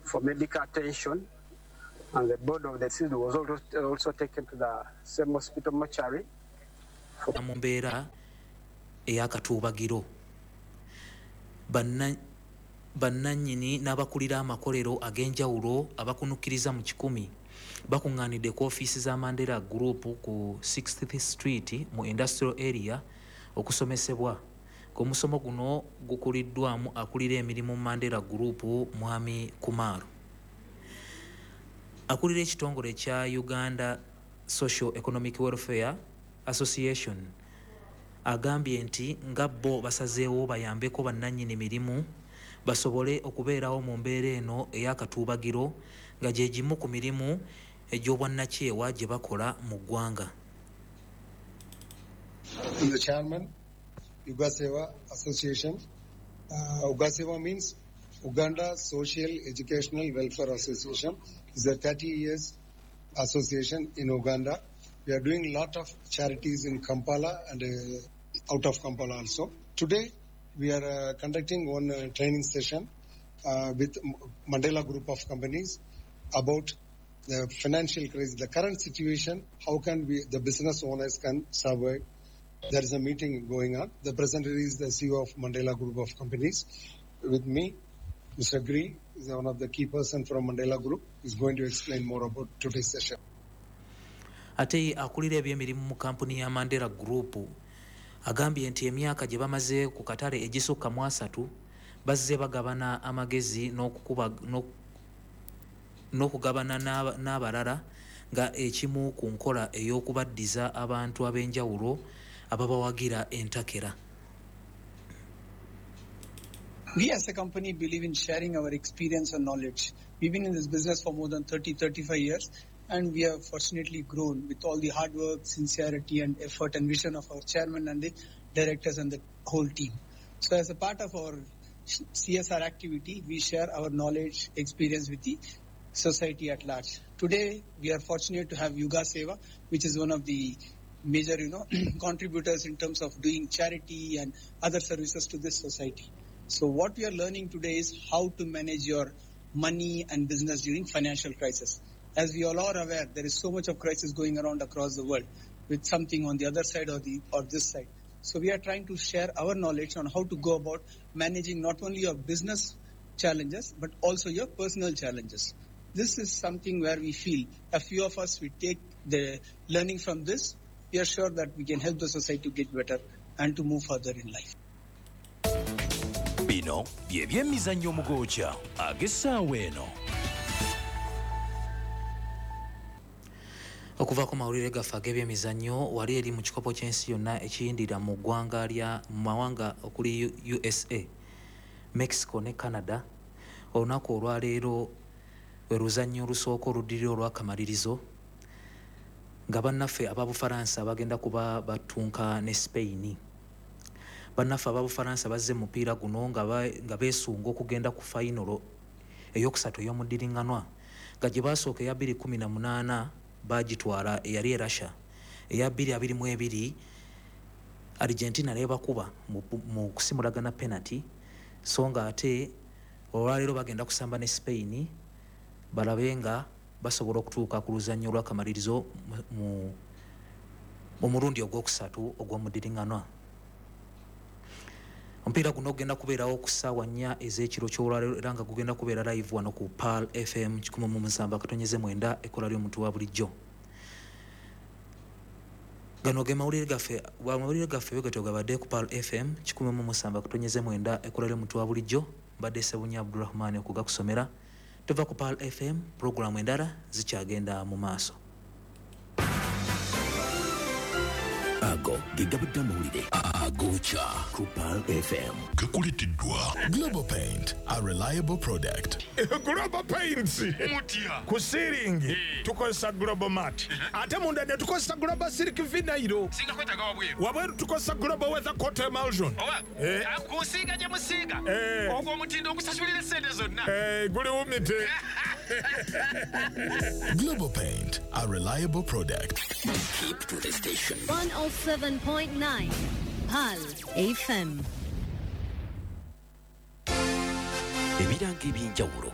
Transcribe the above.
for medical attention, and the body of the deceased was also taken to the same hospital mortuary. Mu mbeera ey'akatuubagiro, bannannyini n'abakulira amakolero ag'enjawulo abakunukkiriza mu 100 bakuŋŋaanidde ku ofiisi za Mandela Group ku 60th Street mu Industrial Area okusomesebwa. Omusomo guno gukuliddwamu akulira emirimu mu Mandela Group, Mwami Kumar. Akulira ekitongole kya Uganda Social Economic Welfare Association agambye nti nga bo basazeewo bayambeko bannannyini mirimu basobole okubeerawo mu mbeera eno ey'akatuubagiro, nga gye gimu ku mirimu egy'obwannakyewa gye bakola mu ggwanga. I'm the chairman, Ugasewa Association. Ugasewa means Uganda Social Educational Welfare Association. It's a 30 years association in Uganda. We are doing a lot of charities in Kampala and out of Kampala also. Today, we are conducting one training session with Mandela Group of Companies about the financial crisis, the current situation, how can we, the business owners can survive. There is a meeting going on. The presenter is the CEO of Mandela Group of Companies. With me, Mr. Gree is one of the key person from Mandela Group. He's going to explain more about today's session. Ate akulira ebyemirimu mu kampuni ya Mandela Group agambye nti emyaka gye bamaze ku katale egisukka mu 30 bazze bagabana amagezi n'okugabana n'abalala nga ekimu ku nkola ey'okubaddiza abantu ab'enjawulo ababawagira entakera. We as a company believe in sharing our experience and knowledge. We've been in this business for more than 30-35 years, and we have fortunately grown with all the hard work, sincerity and effort and vision of our chairman and the directors and the whole team. So as a part of our CSR activity, we share our knowledge, experience with the society at large. Today, we are fortunate to have Ugasewa, which is one of the major, contributors in terms of doing charity and other services to this society. So what we are learning today is how to manage your money and business during financial crisis. As we all are aware, there is so much of crisis going around across the world with something on the other side or this side. So we are trying to share our knowledge on how to go about managing not only your business challenges, but also your personal challenges. This is something where we feel a few of us, we take the learning from this. We are sure that we can help the society to get better and to move further in life. Bino bye byemizannyo omugooca ag'essaawa eno. Okuva ku mawulire gaffe ag'ebyemizannyo, wali eri mu kikopo ky'ensi yonna ekiyindira mu ggwanga lya mu mawanga okuli USA, Mexico ne Canada, olunaku olwaleero lwe luzannya olusooka oluddirira olw'akamalirizo, nga bannaffe aba Bufalansa bagenda kuba batunka ne Spain. Bannaffe aba Bufalansa bazze mu mupiira guno nga beesunga okugenda ku fayinolo eyokusatu ey'omuddiringanwa, nga gye baasooka eya 2018 bagitwala eyali e Russia, eya 2022 Argentina nebakuba mu kusimulagana penalty, so nga ate olwaleero bagenda kusamba ne Spain balabe nga basobola okutuuka ku luzannya olw'akamalirizo mu mulundi ogwokusatu ogw'omuddiringanwa. Omupiira guno gugenda kubeerawo ku ssaawa 4 ez'ekiro ky'olwaleero era nga gugenda kubeera live wano ku Pearl FM 107.9, ekkola ly'omuntu wa bulijjo. Gano ge mawulire gaffe, amawulire gaffe bwe gabadde ku Pearl FM 107.9, ekkola ly'omuntu wa bulijjo. Mbadde Ssebunya Abdulrahman okugakusomera. Tuva ku Pearl FM, pulogulaamu endala zikyagenda mu maaso. Ago ge gabadde amawulire agooca ku Pearl FM. Gakuleteddwa Global Paint, a reliable product. Global Paints Mutya. Ku ceiling tukozesa Global Mat, ate munda ne tukozesa Global Silk Vinyl. Singa kwetaaga wabweru. Wabweru tukozesa Global Weather Coat Emulsion. Oba kusiiga gye musiiga ogwo omutindo ogusasulira essente zonna. Guli wumite. Global Paint, a reliable product. Keep to the station. 107.9 Pearl FM. Ebirango eby'enjawulo.